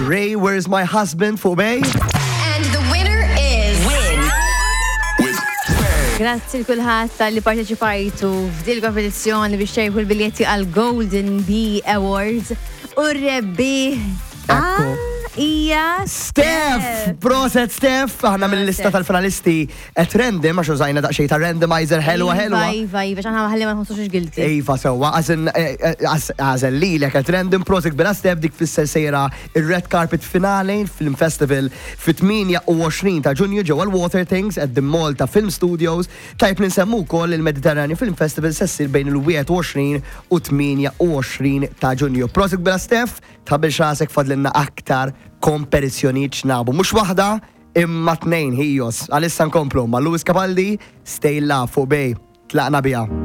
Ray, Where's My Husband fuq Bay. And the winner is. Win. Grazzi l-kulħadd tal-li parteċipajtu f'dil kompetizzjoni biex ċejħu l-biljetti għal Golden Bee Awards u r-rebbieħ Ekku. hija Steph! Proset Steph! Aħna mill-lista tal-finalisti at random, għax użajna daqsxejn ta' randomizer ħelwa ħelwa. Iva, iva, iva, xaħna ħalli ma nħossux guilty. Iva sewwa, għażel lilek at random, proset kbira Steph dik fisser sejra ir-red carpet finale Film Festival fit-28 ta' Ġunju ġewwa l-Water Things at the Malta Film Studios. Tajjeb li nsemmu wkoll il-Mediterranean Film Festival se ssir bejn il-21 u 28 ta' Ġunju. Proset kbira Steph, tħabbilx rasek fadlilna aktar kompetizzjonijiet x'nagħbu. Mhux waħda, imma tnejn ħijos. Għalissa nkomplu ma' Lewis Capaldi, Stay Love fuq Bay. Tlaqna biha.